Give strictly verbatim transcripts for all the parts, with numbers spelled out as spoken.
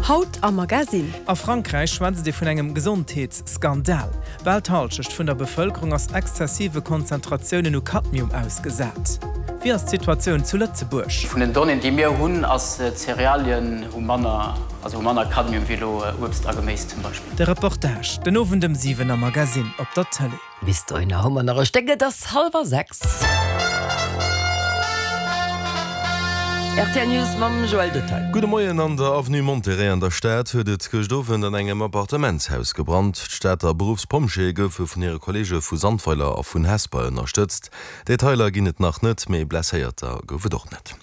Haut am Magasinn. A Frankräich schwätzt ee vun engem Gesondheetsskandal. Bal d'Hallschecht vun der Bevëlkerung ass exzessive Konzentratiounen u Cadmium ausgesat. Wéi ass d'Situatioun zu Lëtzebuerg? Vun den Donnéeën, déi mir hunn, ass Cerealien hu manner, also hu manner Cadmium wéi elo Uebst a Geméis zum Beispill. De Reportage den Owend ëm siwen am Magasinn op der Tëlee. Bis dohinner hu mer nach e Stéck, et ass hallwer sechs. Rtl News mam Joël Detail. Gudde Moien, An der Avenue Monterey an der Stad huet et gëscht Owend an engem Appartementshaus gebrannt. D'Stater Beruffspompjeeë goufe vun hire Kolleege vu Sandweiler a vun Hesper ënnerstëtzt. Detailer ginn et nach net, mee Blesséierter gouf et och net.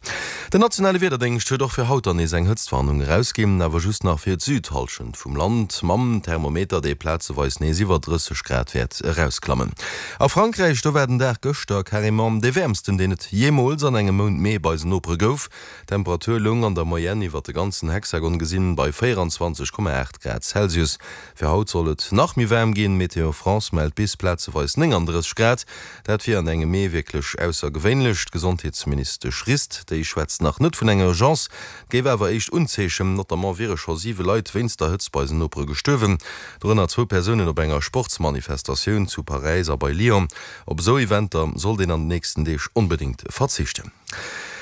Den nationale Wiederdéngscht huet och fir haut dann nees eng Hëtztwarnung erausginn, awer just nach fir d'Südhallschent vum Land, mam Thermometer, dee plazeweis nees iwwer drësseg Grad wäert erausklammen. A Frankräich, do war den Dag gëschter carrément dee wäermsten, deen et jeemools an engem Mount Mee bei eisen Nopere gouf. D'Temperatur loung an der Moyenne iwwer de ganzen Hexagon gesinn bei véierundzwanzeg Komma aacht Grad Celsius. Fir haut soll et nach méi waarm ginn, Météo France mellt bis plazeweis néngandrësseg Grad. Dat wier an engem Mee wierklech aussergewéinlech. D'Gesondheetsministesch Rist, déi schwätzt nach net vun enger Urgence, et géif awer éischt Unzeechen. Notamment wiere scho siwe Leit wéinst der Hëtzt bei eisen Nopere gestuerwen, dorënner zwou Persounen op enger Sportsmanifestatioun zu Paräis a bei Lyon. Op esou Eventer sollt een an den nächsten Deeg onbedéngt verzichten.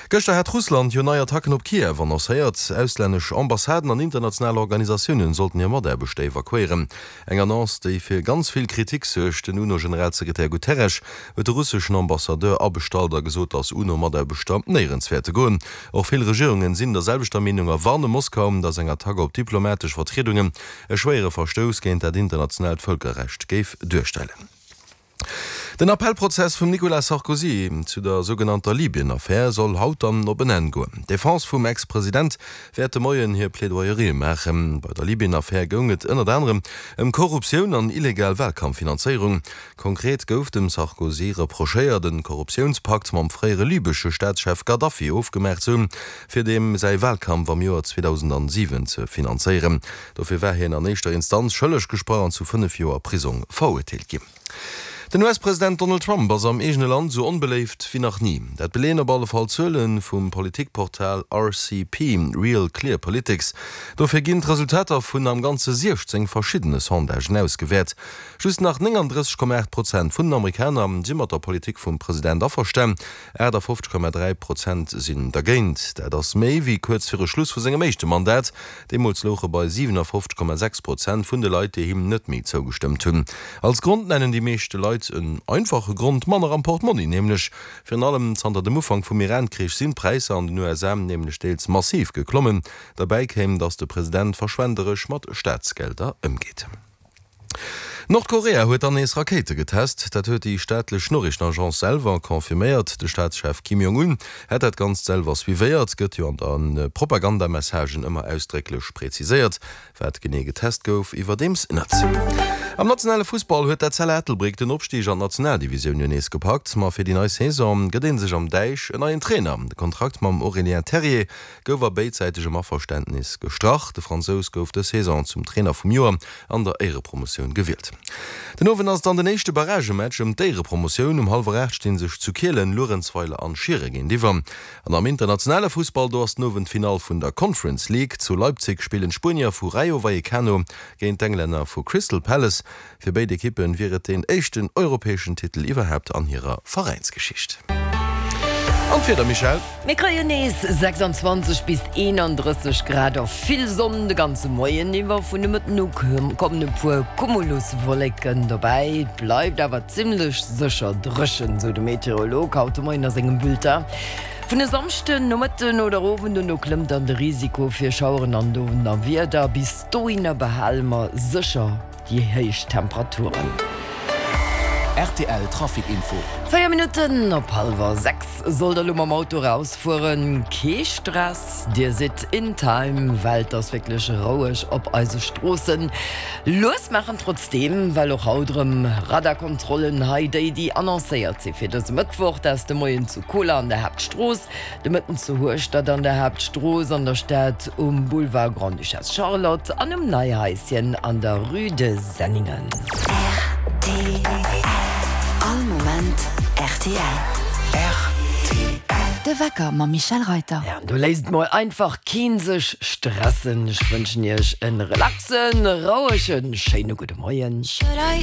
Gëschter hat Russland jo nei Attacken op Kiew annoncéiert. Auslännesch Ambassaden an international Organisatiounen sollten hir Mataarbechter evakuéieren. Eng Annonce, déi fir ganz vill Kritik suergt. Den UNO-Generalsekretär Guterres huet de russeschen Ambassadeur abestallt a gesot, datt UNO-Mataarbechter néierens wäerte goen. Och vill Regierungen sinn der selwechter Meenung a warne Moskau, datt eng Attack op diplomatesch Vertriedungen e schwéiere Verstouss géint dat internationaalt Vëlkerrecht géif duerstellen. Den Appellprozess vum Nicolas Sarkozy zu der sougenannter Libyen-Affär soll haut dann op en Enn goen. D'Defense vum Ex-President wäert de Moien hir Plaidoyerië maachen. Bei der Libyen-Affär goung et ënnert anerem ëm Korruptioun an illegal Walkampffinanzéierung. Konkret gouf dem Sarkozy reprochéiert, e Korruptiounspakt mam fréiere libesche Staatschef Gaddafi ofgemaach ze hunn, fir deem säi Walkampf am Joer zweedausendsiwen ze finanzéieren. Dofir war hien an éischter Instanz schëlleg gesprach an zu fënnef Joer Prisong verurteelt ginn. Den U S-President Donald Trump ass am eegene Land esou onbeléift wéi nach ni. Dat beleeën op alle Fall Zuele vum Politikportal R C P, Real Clear Politics. Dofir ginn d'Resultater vun am Ganze siechzéng verschiddene Sondagen ausgewäert. Just nach néngandrësseg Komma aacht Prozent vun den Amerikaner si mat der Politik vum President averstan, aachtafoffzeg Komma dräi Prozent sinn dergéint. Dat ass méi wéi kuerz viru Schluss vu sengem éischte Mandat. Deemools louche bei siwenafoffzeg Komma sechs Prozent vun de Leit, déi him net méi zougestëmmt hunn. Als Grond nennen déi meeschte Leit en einfache Grond, manner am Portmonni nämlech. Virun allem zanter dem Ufank vum Iran-Krich sinn d'Präisser an den U S A nämlech deels massiv geklommen. Derbäi kéim, datt de President verschwenderesch mat Staatsgelder ëmgeet. Nordkorea huet dann nees Rakéite getest. Dat huet déi staatlech Noriichtenagence selwer confirméiert. De Staatschef Kim Jong-un hätt dat Ganzt selwer suivéiert, gëtt jo an de Propagandamessagen ëmmer ausdrécklech preziséiert. Wat genee getest gouf, iwwerdeems net. Am nationale Fussball huet d'Etzella Ettelbréck den Opstig an d'Nationaldivisioun jo nees gepackt. Ma fir déi nei Saison gëtt ee sech am Däich en neien Trainer. De Kontrakt mam Aurélien Terrier gouf a béidsäitegem Averständnis gestrach. De Fransous gouf dës Saison zum Trainer vum Joer an der Éierepromotioun gewielt. Den Owend ass dann den éischte Barragematch ëm d'Éierepromotioun. Um hallwer aacht sti sech zu Kielen Luerenzweiler an Schiere géintiwwer. An am internationale Fussball, do ass den Owend d'Finall vun der Conference League. Zu Leipzig spillen d'Spuenier vu Rayo Vallecano géint d'Englänner vu Crystal Palace. Fir béid Ekippen wier et deen éischten europäeschen Titel iwwerhaapt an hirer Veräinsgeschicht. An d'Wieder, Michèle? Mir kréien nees sechsanzwanzeg bis eenandrësseg Grad a vill Sonn de ganze Moien iwwer. Vun de Mëtten u kommen e puer Cumuluswolleken dobäi, et bleift awer zimmlech sécher dréchen, sou de Meteorolog haut de Moien a sengem Bulletin. Vun e Samschden Nomëtten oder Owend un klëmmt dann de Risiko fir Schaueren an Donnerwieder. Bis dohinner behale mer sécher déi héich Temperaturen. R T L Trafic Info. Véier Minutten op hallwer sechs. Sollt der elo mam Auto rausfueren, kee Stress, dir sidd in time, well et ass wierklech roueg op eise Stroossen. Lues maachen trotzdeem, well och haut erëm Radarkontrollen hei déi, déi annoncéiert si fir dëse Mëttwoch, dat ass de Moien zu Koler an der Haaptstrooss, de Mëtten zu Hueschtert an der Haaptstrooss, an der Stad um Boulevard Grande-Duchesse Charlotte an um Neihaischen an der Rue de Senningen. R T L. All Moment R T L. R T L. De De Wecker mam Michel Reiter. Ja, do léisst mol einfach keen sech stressen. Ech wënschen iech en relaxen, rouegen, schéine gudde Moien. Should I